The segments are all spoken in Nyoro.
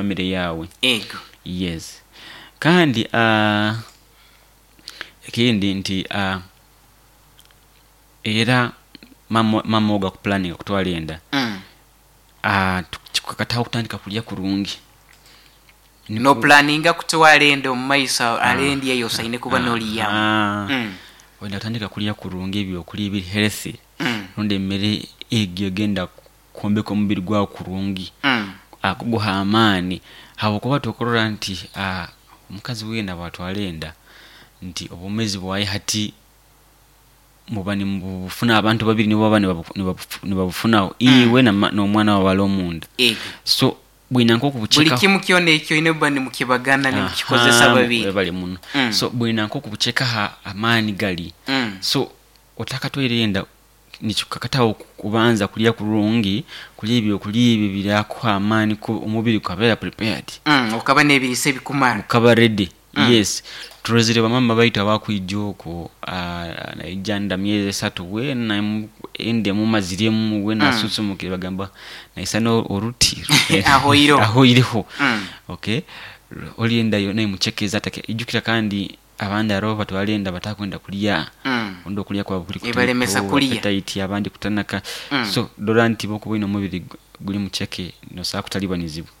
Family yawe. Ego. Yes, kandi ekindi nti era mama ogu akupulaninga kutwara enda, kikukakataho okutandika kulya kurungi. Nopulaninga kutwara enda omu maiso haro endya eyosaine kuba nolyamu. Oyina kutandika kulya kurungi, ebyokulya ebiri healthy, rundi emere egyo egenda kwombeka omubiri gwawe kurungi, kuguha amaani, habwokuba tokurora nti omukazi weena bwatwara enda nti obwomezi bwaye hati muba nimubufuna abantu babiri nibo baba nibabufunaho, iwe n'omwana wawe ali omunda. Ego. So bwina Buli nkokubuchekaho. Kimu kyona ekyoine muba nimukibagana, nimukikozesa babiri. Webale muno. So bwina nkokubuchekaho amaani gali. So otakatwaire enda, nikikukakataho kubanza kulya kurungi, kulya ebyokulya ebyo ebirakuha amaani, omubiri gukabeera prepared. Okaba n'ebiriisa ebikumara. Gukaba ready. Yes, turozire bamama baitu abakwija oku, naija nda myezi 3 weena enda emumaziremu weena, asunsumukire, bagamba naisana oruti. Ahoireho. Ahoireho. Okay, oli enda yoona emuchekeze atake ijukira, kandi abandi haroho batwara enda batakwenda kulya, ondi okulya kwabu kuli Ebalemesa kutaito, kulya. Appetite abandi kutanaka. So dora nti bwokuba oyine omubiri guli mucheke, nosobola kutalibanizibwa.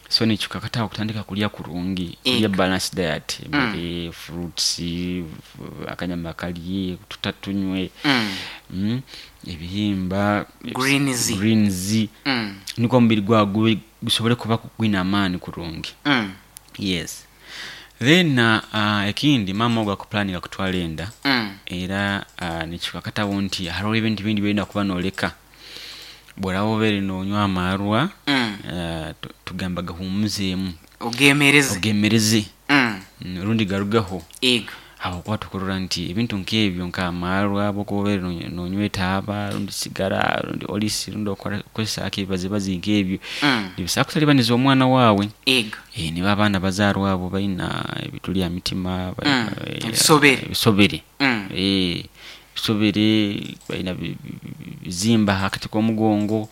So nikikukakataho kutandika kulya kurungi, kulya balanced diet, emmere, fruits, akanyama kalye, otuta tunywe, ebihimba, Greens. Greens, nikwo omubiri gwawe gube gusobole kuba gwine amaani kurungi. Yes, then ekindi, mama ogu akupulaninga kutwara enda, era nikikukakataho nti haroho ebintu bindi byolina kuba noleka. Bworaba obaire nonywa amarwa, tugamba gahumuzeemu. Ogemereze. Ogemereze, rundi garugeho, Ego. habwokuba tukurora nti ebintu nk'ebyo, nk'amarwa, bwokuba obaire nonywa etaaba rundi sigara rundi olisi rundi okozesa ebibazibazi nk'ebyo, nibisobola kutalibaniza omwana waawe. Ego. Nibo abaana bazaarwa abo baina ebituli ha mitima, Ebisobere. Ebisobere. Ebisobere, baina bizimba hakati k'omugongo.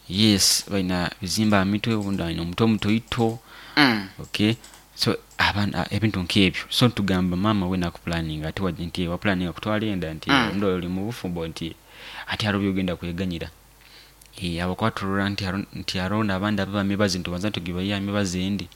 Yes, baina bizimba ha mitwe, obundi aine omutwe mutoito. Okay, so abaana, ebintu nk'ebyo. So nitugamba maama weena akupulaninga ati nti wapulaninga kutwara enda, nti rundi oli mu bufumbo, nti hati haroho byogenda kweganyira, habwokuba turora nti haroho n'abandi ababa mibazi, nitubanza tugibayiha emibazi endi,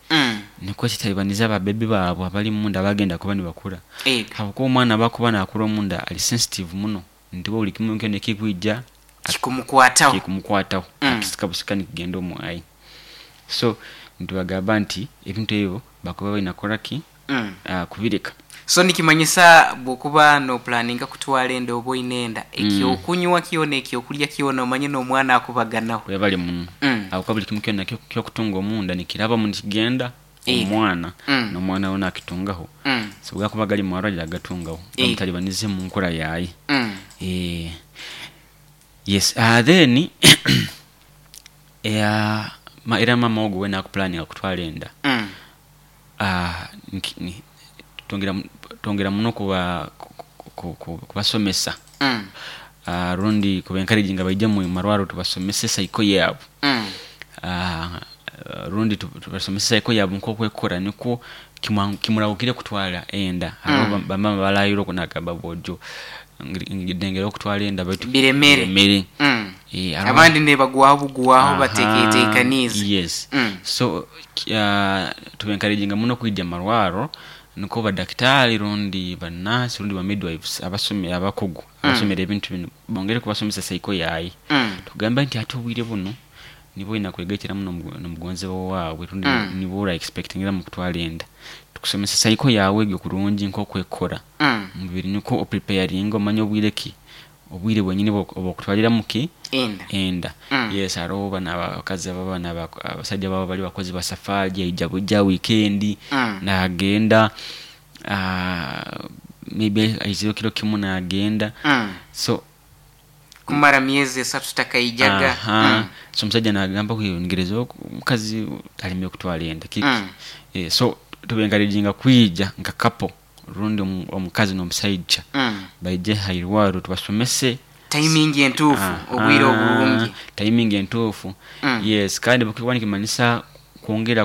nikwo kitalibaniza ababebi baabo abali munda abagenda kuba nibakura, Ego. habwokuba omwana abakuba nakura omunda ali sensitive muno, nti buli kimu kyona ekikwija Kikumukwataho. Kikumukwataho, akisika busika nikigenda omwayi. So nitubagamba nti ebintu ebyo bakuba balina kukoraki? Kubireka. So nikimanyisa bwokuba nopulaninga kutwara enda oba oine enda, ekyokunywa kyona, ekyokulya kyona, omanye n'omwana akubaganaho. Webale muno. Habwokuba buli kimu kyona kyokutunga omunda nikirabamu nikigenda omwana, n'omwana we nakitungaho. So bwakuba gali marwa agatungaho, gamutalibanize mu nkura yaye. Yes, then era mama ogu weena akupulaninga kutwara enda, twongera muno kubasomesa, rundi kuba encouraginga baije mu marwaro tubasomese cycle yaabo, rundi tubasomese cycle yaabo nkokwekora, nikwo kimurahukire kutwara enda. Hariho bamama barahire oku nagamba, bojo ndengera okutwara enda baitu Biremere. Biremere. Abandi nebagwaho bugwaho bateketekaniize. Yes. So tuba encouraginga muno kwija marwaro, nikwo badakitari rundi banasi rundi ba midwives abasomere, abakugu abasomere ebintu binu, bongere kubasomesa cycle yaye. Tugambe nti hati obwire buno nibo oyina kwegaitiramu n'omugonzebwa waawe, rundi nibo ora expectingiramu kutwara enda, tukusomesa cycle yawe egyo kurungi nkokwekora omubiri, nikwo opreparinga, omanye obwire ki, obwire bwenyini obwokutwaliramu ki? Enda. Enda. Yes, haroho bano abakazi ababa abasajja baba bali bakozi ba safari, aija bujja weekend, nagenda, maybe aizire kiro kimu nagenda. So Kumara myezi 3 takaijaga. So omusajja nagamba, ngereza omukazi alemere kutwara enda kiki? So tuba encouraginga kwija nka couple, rundi omukazi n'omusaija, baije hairwaro tubasomese Timing entuufu, obwire oburungi. Timing entuufu. Yes, kandi bukikuba nikimanyisa kwongera.